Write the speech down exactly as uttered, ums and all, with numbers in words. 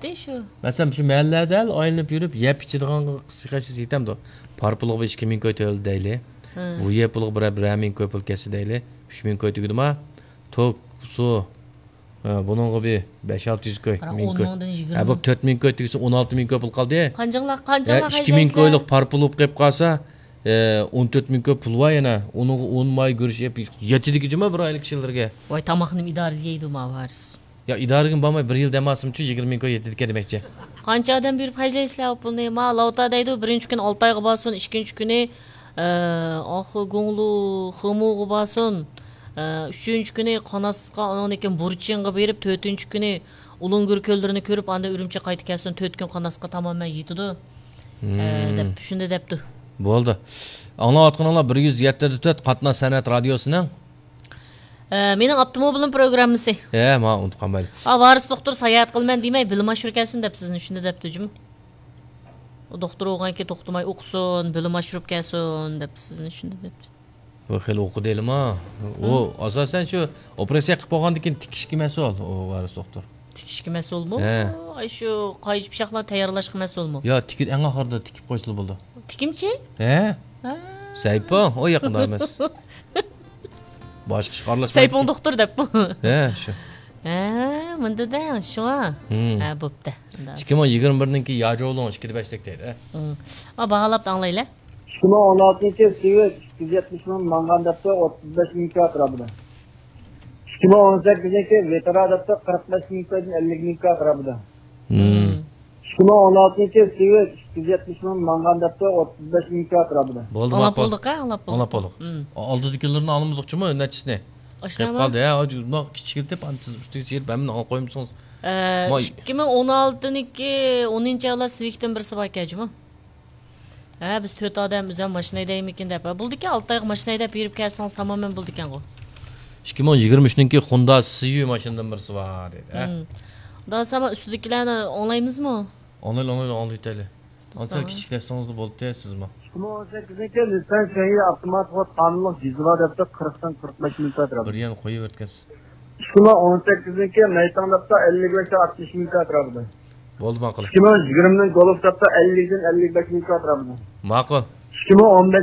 دە شۇ. مەسىلەن، شۇ مەھەللىلەردە ئايلىنىپ يۈرۈپ، يەپ ئىچىدىغانغا قىسقىچە يېتەمدۇ؟ پار پۇلىغا بىر ئىككى مىڭ كوي تۆلىدى دەيلى. ھە. بۇ يەپ پۇلىغا بىرەر، بىرەر مىڭ كوي پۇل كەتسە دەيلى. ئۈچ مىڭ كوي تۈگىدىما؟ توك، سۇ، ھە، بۇنىڭغا بىر بەش ئالتە يۈز كوي، قارا، مىڭ ئون كوي. مىڭدىن يىگىرمە. ھە، بۇ تۆت مىڭ كوي تۈگىسە، ئون ئالتە مىڭ كوي پۇل قالدى. قانچىڭلار، ھە، قانچىڭلار ئىككى مىڭ خەجلەيسىلەر؟ كويلۇق پار پۇل بولۇپ قېلىپ قالسا، ھە، ئون تۆت مىڭ كوي پۇل بار يەنە. ئۇنىڭغا ئون ماي گۈرۈچ ئېلىپ يېتىدىكى جۇما بىر ئايلىق كىشىلەرگە. ۋاي، تاماقنىمۇ ئىدارە دېيدۇ ما ۋارىس. يا، ئىدارىگە بارماي بىر يىل دەم ئالسىمچۇ، يىگىرمە مىڭ كوي يېتىدىكەن دېمەكچى. قانچە ئادەم بېرىپ خەجلەيسىلەر ئۇ پۇلنى؟ ما لاۋتا دەيدۇ، بىرىنچى كۈنى ئالتايغا بارسۇن، ئىككىنچى كۈنى، ئە، ئاخۇ گۇڭلۇ خېمۇغا بارسۇن، ئە، ئۈچىنچى كۈنى قاناسقا، ئاندىن كېيىن بۇرچىڭغا بېرىپ، تۆتىنچى كۈنى ئۇلۇڭگۈر كۆللىرىنى كۆرۈپ، ئاندىن ئۈرۈمچىگە قايتا كەلسۇن، تۆت كۈن قاناسقا تامامەن يېتىدۇ، ئە، مم. دەپ، شۇنداق دەپتۇ. بولدى. ئاڭلاۋاتقىنىڭلار بىر يۈز يەتتە دە تۆت قاتناش سەنئەت رادىيوسىنىڭ ئە، مېنىڭ ئاپتوموبىلىم پروگراممىسى. ھە، ما ئۇنتۇپ قالمايلى. ئا، ۋارىس دوختۇر ساياھەت قىلىمەن دېمەي، بىلىم ئاشۇرۇپ كەلسۇن دەپ سىزنى شۇنداق دەپتۇ جۇمۇ. ئۇ دوختۇر بولغانكى توختىماي ئوقۇسۇن، بىلىم ئاشۇرۇپ كەلسۇن دەپ سىزنى شۇنداق دەپتۇ. بۇ خېلى ئوقۇدى ھېلىما. ئۇ ھە. ئاساسەن شۇ ئوپېراتسىيە قىلىپ بولغاندىن كېيىن تىكىشكە مەسئۇل ئۇ ۋارىس دوختۇر. تىكىشكە مەسئۇلمۇ؟ ھە. ئاي، شۇ قايچا پىچاقلارنى تەييارلاشقا مەسئۇلمۇ؟ يا، تىكىپ، ئەڭ ئاخىرىدا تىكىپ قويسىلا بولىدۇ. تىكىمچى؟ ھە؟ ھە. سەيپۇڭ، ئۇ يېقىندا ئەمەس. باشقا ئىشقا ئارىلاشمايدىكەن. سەيپۇڭ دوختۇر دەپمۇ؟ ھە، شۇ. ھە، مۇندا دەڭ، شۇڭا. ھىم. ھە، بوپتۇ. ئىككى مىڭ يىگىرمە بىرنىڭكى ياجولۇڭ ئىككىدە بەشلىك دەيدۇ، ھە. ھىم. ما باھالاپ ئاڭلايلى. ئىككى مىڭ ئون ئالتىنچى سىۋىك ئۈچ يۈز يەتمىش مىڭ ماڭغان دەپتۇ، ئوتتۇز بەش مىڭ كوي ئەتراپىدا. ئىككى مىڭ ئون سەككىزىنچى ۋېترا دەپتۇ، قىرىق بەش مىڭ كويدىن ئەللىك مىڭ كوي ئەتراپىدا. ھىم. ئىككى مىڭ ئون ئالتىنچى سىۋىك ئۈچ يۈز يەتمىش مىڭ ماڭغان دەپتۇ، ئوتتۇز بەش مىڭ كوي ئەتراپىدا. بولدى، ئاڭلاپ ماقۇل. بولدۇق، ھە، ئاڭلاپ بولدۇق. ئاڭلاپ بولدۇق. ھىم. ئالدىدىكىلىرىنى ئالمىدۇقچىمۇ، نەچچىسىنى؟ ئاشۇلارمۇ؟ قېلىپ قالدى، ھە، مانا كىچىكلىتىپ، ئاندىن سىز ئۈستىگە چىقىرىپ، ھەممىنى ئاڭلاپ قويمىسىڭىز. ئە، ما- ئىككى مىڭ ئون ئالتىنىڭكى ئونىنچى ئايلار سىۋىكتىن بىرسى باركەن جۇمۇ. ھە، بىز تۆت ئادەم ئۆزەم ماشىنا ھەيدەيمىكىن دەپ. ھە، بولىدىكەن، ئالتە ئايغا ماشىنا ھەيدەپ بېرىپ كەلسىڭىز تامامەن بولىدىكەنغۇ. ئىككى مىڭ يىگىرمە ئۈچنىڭكى خوندا سىيۇ ماشىنىدىن بىرسى بار دەيدۇ، ھە؟ ھىم. داسا، ما ئۈستىدىكىلەرنى ئاڭلايمىزمۇ؟ ئاڭلايلى، ئاڭلايلى، ئاڭلاۋېتەيلى. ئانچە تامام. كىچىكلەتسىڭىزلا بولدى سىزمۇ. ئىككى مىڭ ئون سەككىزنىڭكى نىسسان شېڭيى ئاپتومات قوت قانۇنلۇق دىزېلى دەپتۇ، قىرىقتىن قىرىق بەش مىڭ كوي ئەتراپىدا. بىر يەرنى قويۇۋەتكەنسىز. ئىككى مىڭ ئون سەككىزنىڭكى مەيتاڭ دەپتۇ، ئەللىك بەشتىن ئاتمىش مىڭ كوي ئەتراپىدا. بولدى، ماقۇل. ئىككى مىڭ يىگىرمىنىڭ گولف دەپتۇ، ئەللىكتىن ئەللىك بەش مىڭ كوي ئەتراپىدا. ماقۇل. ئىككى مىڭ ئون بەش